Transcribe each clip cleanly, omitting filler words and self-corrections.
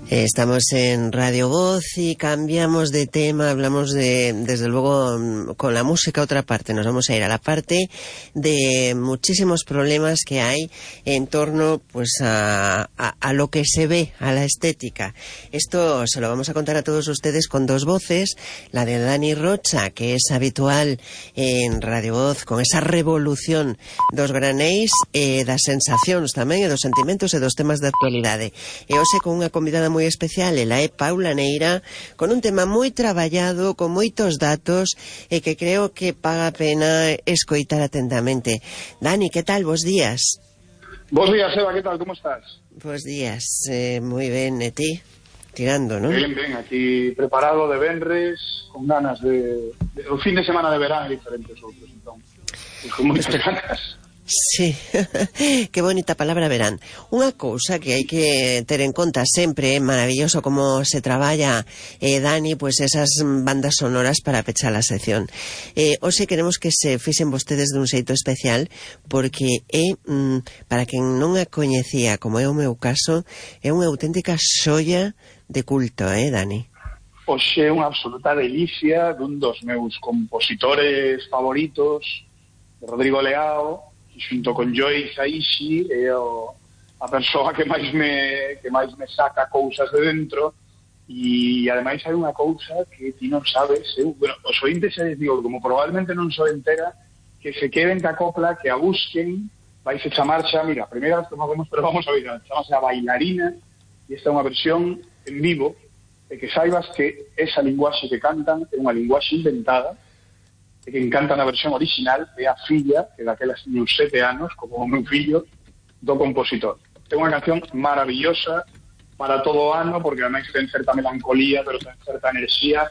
Estamos en Radio Voz y cambiamos de tema, hablamos desde luego, con la música otra parte. Nos vamos a ir a la parte de muchísimos problemas que hay en torno pues a lo que se ve, a la estética. Esto se lo vamos a contar a todos ustedes con dos voces, la de Dani Rocha, que es habitual en Radio Voz, con esa revolución dos granéis, das sensacións tamén, e dos sentimentos e dos temas de actualidade. E hoxe con unha convidada moi especial, ela é Paula Neira, con un tema moi traballado, con moitos datos, e que creo que paga a pena escoitar atentamente. Dani, que tal? Bos días. Bos días, Eva, que tal? Como estás? Bos días, moi ben, e ti? Tirando, non? Ben, aquí preparado de venres, con ganas de o fin de semana de verán e diferentes outros, entón, con moitas ganas. Sí, que bonita palabra verán. Unha cousa que hai que ter en conta sempre, é maravilloso como se traballa, Dani, pois esas bandas sonoras para pechar a sección. Hoxe queremos que se fixen vostedes dun xeito especial, porque é, para quen non a coñecía, como é o meu caso, é unha auténtica xoia de culto, Dani? Hoxe é unha absoluta delicia dun dos meus compositores favoritos, de Rodrigo Leao, xunto con Joey Hisaishi, é a persoa que máis me saca cousas de dentro, e ademais hai unha cousa que ti non sabes, os ointes xa les digo, como probablemente non so entera, que se queden ca copla, que a busquen, vais a chamar xa, mira, a primeira vez que facemos, pero vamos a ver, chamase a Bailarina, e esta é unha versión en vivo, e que saibas que esa linguaxe que cantan é unha linguaxe inventada, e que encanta na versión original, é a filla, que daquelas tiña uns 7 anos, como o meu fillo, do compositor. É unha canción maravillosa para todo o ano, porque ademais ten certa melancolía, pero ten certa enerxía.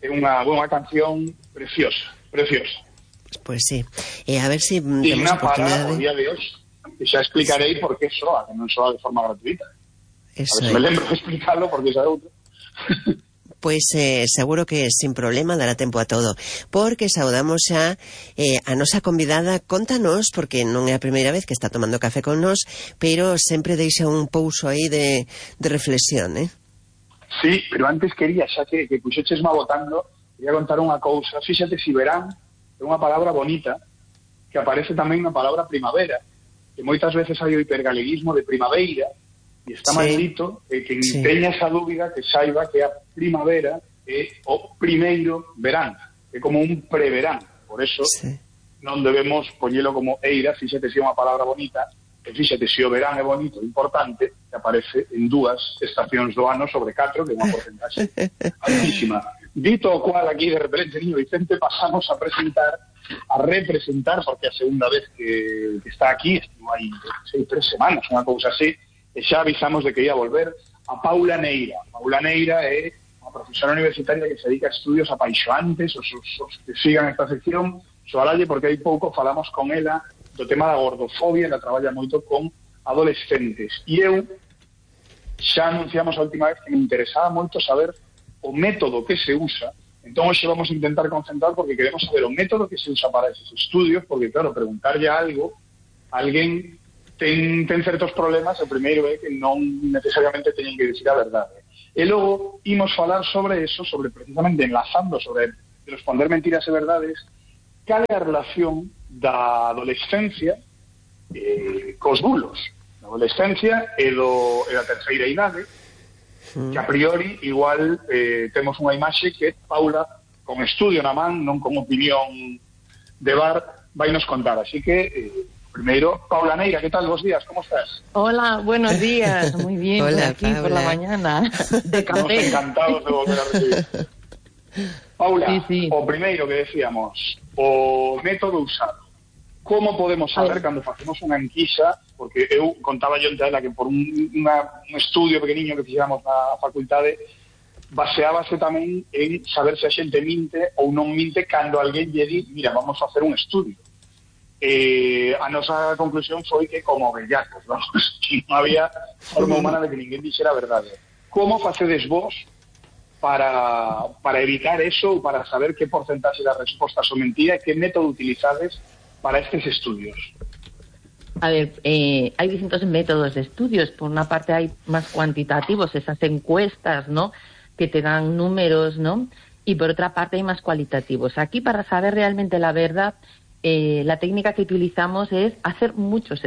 É unha canción preciosa, preciosa. Pois sí. E a ver se digna para o día de hoxe. E xa explicarei por que soa, que non soa de forma gratuita. Eso a ver se me lembro de explicarlo, porque xa é outro. Pois seguro que sin problema dará tempo a todo, porque saudamos xa a nosa convidada. Contanos, porque non é a primeira vez que está tomando café con nós, pero sempre deixa un pouso aí de reflexión, Sí, pero antes quería, xa que puxechesma botando, quería contar unha cousa. Fíxate, si verán é unha palabra bonita, que aparece tamén na palabra primavera, que moitas veces hai o hipergaleguismo de primaveira, e está maldito, que teña esa dúbida, que saiba que a primavera é o primeiro verán, é como un preverán. Por eso non debemos poñelo como eira. Fíxate se é unha palabra bonita, e fíxate se o verán é bonito, importante, que aparece en 2 estacións do ano sobre 4, que é unha porcentaxe altísima. Dito o cual, aquí de repente, niño Vicente, pasamos a representar, porque a segunda vez que está aquí, estivo aí 3 semanas, unha cousa así, e xa avisamos de que ia volver, a Paula Neira. Paula Neira é unha profesora universitaria que se dedica a estudios apaixoantes, os que sigan esta sección, soalalle, porque hai pouco falamos con ela do tema da gordofobia, ela traballa moito con adolescentes. E eu xa anunciamos a última vez que me interesaba moito saber o método que se usa, entón hoxe vamos a intentar concentrar, porque queremos saber o método que se usa para esos estudios, porque claro, preguntarlle algo a alguén ten certos problemas. O primeiro é que non necesariamente teñen que dicir a verdade. E logo imos falar sobre eso, sobre precisamente enlazando sobre responder mentiras e verdades, cal é a relación da adolescencia cos bulos. A adolescencia é da terceira idade, que a priori igual temos unha imaxe que Paula, con estudio na man, non con opinión de bar, vai nos contar. Así que primero, Paula Neira, ¿qué tal? Bos días, ¿cómo estás? Hola, buenos días, muy bien. Hola, aquí Paula. Por la mañana, de café. Estamos encantados de volver a recibir. Paula, sí. O primeiro que decíamos, o método usado. Como podemos saber cando facemos unha enquisa, porque eu contaba yo entre ela que por un estudio pequeniño que fixéramos na facultade, baseábase tamén en saber se a xente minte ou non minte cando alguén lle di, mira, vamos a facer un estudio. A nosa conclusión foi que como bellacos, vamos, que non había forma humana de que ninguén dixera a verdade. Como facedes vos para evitar eso, ou para saber que porcentaxe das respostas son mentira, e que método utilizades para estes estudios? A ver, hay distintos métodos de estudios. Por una parte hay más cuantitativos, esas encuestas, ¿no?, que te dan números, ¿no? Y por otra parte hay más cualitativos. Aquí, para saber realmente la verdad, la técnica que utilizamos es hacer muchos